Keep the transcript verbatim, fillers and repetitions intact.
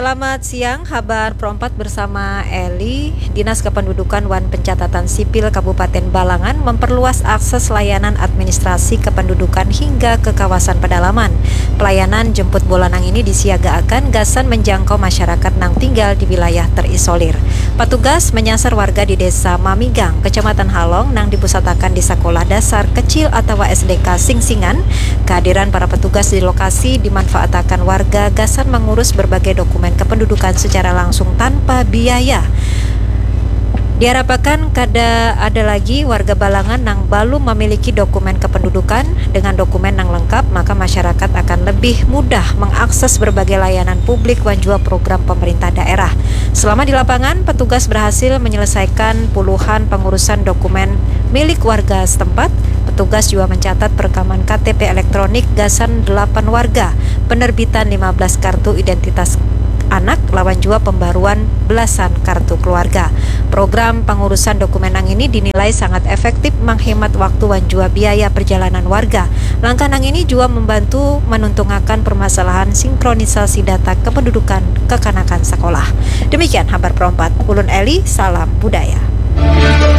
Selamat siang, habar Pro empat bersama Eli. Dinas Kependudukan wan Pencatatan Sipil Kabupaten Balangan memperluas akses layanan administrasi kependudukan hingga ke kawasan pedalaman. Pelayanan jemput bola nang ini disiagaakan gasan menjangkau masyarakat nang tinggal di wilayah terisolir. Petugas menyasar warga di Desa Mamigang, Kecamatan Halong, nang dipusatakan di Sekolah Dasar Kecil atawa S D K Singsingan. Kehadiran para petugas di lokasi dimanfaatakan warga gasan mengurus berbagai dokumen kependudukan secara langsung tanpa biaya. Diharapkan kada ada lagi warga Balangan nang balum memiliki dokumen kependudukan. Dengan dokumen nang lengkap, maka masyarakat akan lebih mudah mengakses berbagai layanan publik wan jua program pemerintah daerah. Selama di lapangan, petugas berhasil menyelesaikan puluhan pengurusan dokumen milik warga setempat. Petugas juga mencatat perekaman K T P elektronik gasan delapan warga, penerbitan lima belas kartu identitas anak, lawan jua pembaruan belasan kartu keluarga. Program pengurusan dokumen nang ini dinilai sangat efektif menghemat waktu wan jua biaya perjalanan warga. Langkah nang ini juga membantu menuntungakan permasalahan sinkronisasi data kependudukan kekanakan sekolah. Demikian habar Pro empat, ulun Eli, salam budaya.